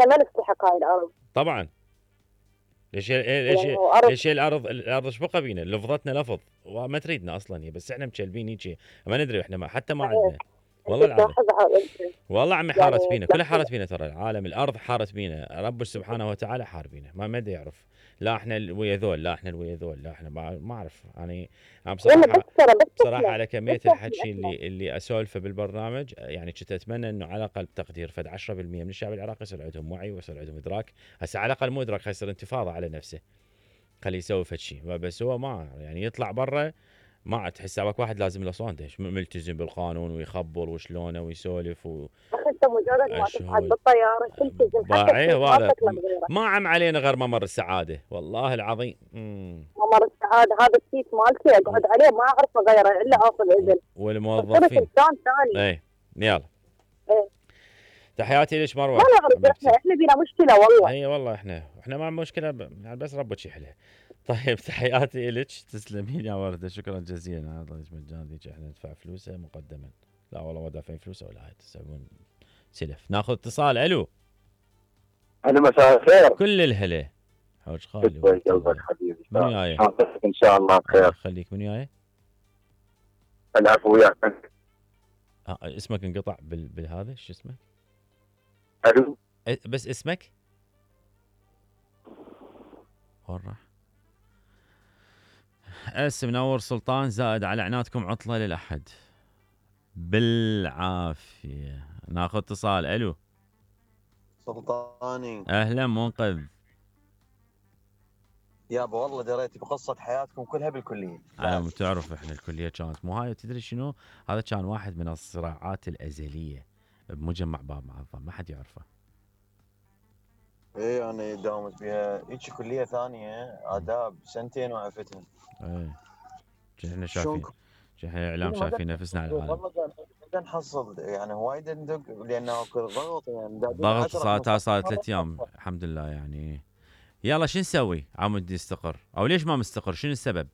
احنا ما نستحق هاي الارض طبعا. ليش يعني هو ارض. ليش الارض ايش بقى بينا؟ لفظتنا لفظ وما تريدنا اصلا هي، بس احنا مكلبين هيك ما ندري، احنا حتى ما عندنا. والله انت العظيم تلاحظها والله عمي يعني حارت بينا، كلها تلاحظ. حارت بينا، ترى العالم الارض حارت بينا، رب سبحانه وتعالى حار بينا، ما مدى يعرف. لا احنا ويا ذول، لا احنا ويا ذول، لا احنا ما اعرف يعني. انا ولا بصراحه، بس ترى بس بصراحه احنا على بس كميه الحكي احنا اللي اسولفه بالبرنامج، يعني كنت اتمنى انه على الاقل بتقدير فد 10% من الشعب العراقي يصير عندهم وعي ويصير عندهم ادراك. هسه على الاقل مو ادراك، يصير انتفاضه على نفسه، خليه يسوي فد شيء. بس هو ما يعني يطلع برا، ما تحس سابك واحد لازم له صوته ملتزم بالقانون ويخبر وشلونه ويسولف بس انت مجرد ما تصعد واشهد بالطياره تلتزم حتى باعيه بشيء ما وهذا تطلب غيره. ما عم علينا غير ممر السعاده والله العظيم. ممر السعاده هذا السيت مالتي اقعد عليه ما اعرف اغيره الا اخذ اذن. فصرت والموظفين. انسان ثاني. ايه يلا. ايه. تحياتي لك ما مروه. نعرف احنا بينا مشكله والله. هي والله احنا ما مشكله يعني بس ربك يحلها. طيب تحياتي لك، تسلمين يا ورده، شكرا جزيلا. هذا مجان ذيك احنا ندفع فلوسه مقدما. لا والله ما دافعين فلوسه ولا هاي، تسوون سلف. ناخذ اتصال. الو. أنا مساء الخير. كل الهلا حوج خالي يسعد قلبك حبيبي. من وياي؟ إن شاء الله بخير. خليك من وياي؟ العفو وياك. اسمك انقطع بالهذا، شو اسمك؟ ألو. بس اسمك؟ وين راح؟ منور سلطان زائد على عنادكم عطلة للأحد. بالعافية. ناخذ اتصال. الو. سلطاني. اهلا منقذ. يابا والله دريت بقصة حياتكم كلها بالكلية. انا تعرف احنا الكلية كانت مو هاي، تدري شنو؟ هذا كان واحد من الصراعات الأزلية بمجمع باب معظم، ما حد يعرفه. ايه انا داومت بها هيك كلية ثانية آداب سنتين وعفتهم. ايه احنا شايفين، احنا الاعلام شايفين نفسنا على العالم. والله قاعد نحصل يعني وايد ندق لانه اكو ضغط يعني ضغط. صارت 3 ايام الحمد لله يعني. يلا شو نسوي؟ عمود يستقر او ليش ما مستقر؟ شنو السبب؟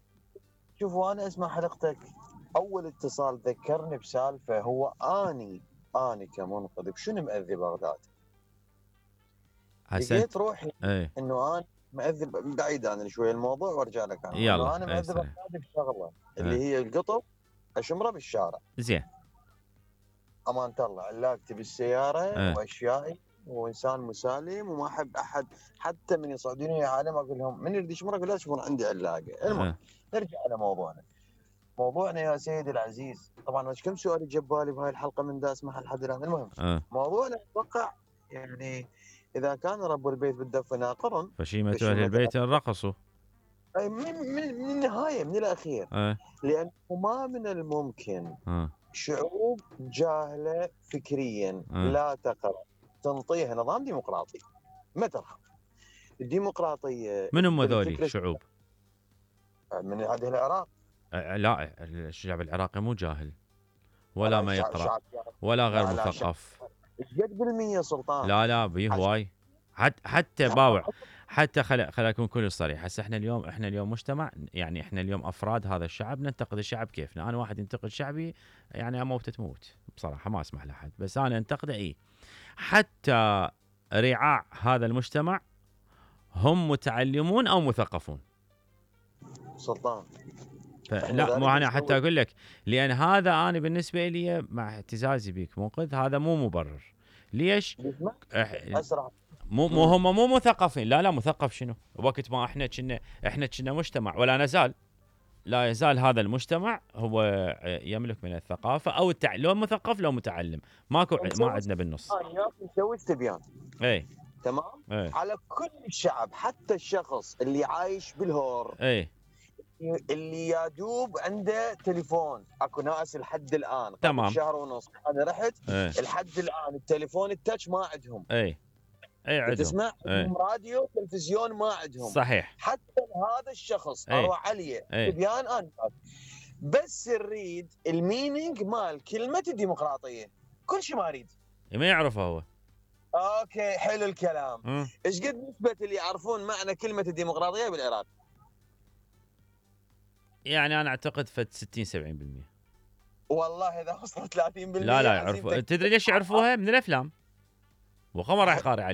شوفوا انا اسمع حلقتك اول اتصال ذكرني بسالفه. هو اني كمنقذ شنو مأذي بغداد؟ لقيت روحي انه انا مأذي بعيد عن شوي الموضوع وارجع لك عنه. يلا انا مأذي بغداد بشغله اللي هي القطب اشمره بالشارع. زين. امانه الله علاقتي بالسياره واشيائي وانسان مسالم وما احب احد حتى من يصعدوني عالم اقول لهم من يريد يشمر اقول لا تشوفون عندي علاقه. المهم نرجع على موضوعنا يا سيدي العزيز. طبعا مش كم سؤال جاب بالي بهاي الحلقه من دا اسمعها لحد الان. المهم موضوعنا اتوقع يعني اذا كان رب البيت بالدفه ناقر فشيمة اهل البيت رقصوا. اي من النهايه من الاخير. لانه ما من الممكن شعوب جاهله فكريا لا تقرأ تنطيها نظام ديمقراطي ما ترحم. الديمقراطيه من هم ذولي الشعوب؟ من هذه العراق. لا الشعب العراقي مو جاهل ولا ما يقرأ ولا غير مثقف. قد بالمية سلطان. لا بيه هواي. حتى باوع. حتى خل اكون كل صريح. هسه احنا اليوم مجتمع، يعني احنا اليوم افراد هذا الشعب ننتقد الشعب كيفنا. انا واحد ينتقد شعبي يعني اموت تموت بصراحه، ما اسمح لاحد، بس انا انتقده. حتى رعاع هذا المجتمع هم متعلمون او مثقفون سلطان. لا مو انا حتى اقول لك، لان هذا انا بالنسبه لي مع اعتزازي بك منقذ هذا مو مبرر. ليش؟ اسرع. مو هم مو مثقفين. لا مثقف شنو؟ وقت ما احنا كنا مجتمع ولا نزال، لا يزال هذا المجتمع هو يملك من الثقافه او لو مثقف لو متعلم، ما عندنا بالنص. نسوي استبيان. اي تمام. على كل الشعب حتى الشخص اللي عايش بالهور اللي يادوب عنده تليفون. اكو ناس لحد الان تمام شهر ونص انا رحت لحد الان التليفون التاتش ما عندهم. اي عندهم تسمع راديو تلفزيون ما عندهم. صحيح. حتى هذا الشخص اروح عليه بيان انا بس نريد المينينج مال كلمه الديمقراطيه. كل شيء ما اريد ما يعرفه هو. اوكي حلو الكلام. ايش قد نسبه اللي يعرفون معنى كلمه الديمقراطيه بالعراق؟ يعني انا اعتقد فد 60-70%. والله اذا وصلت 30% لا يعرفوا. تدري ليش يعرفوها؟ من الافلام. وخمر راح يقاري عليها.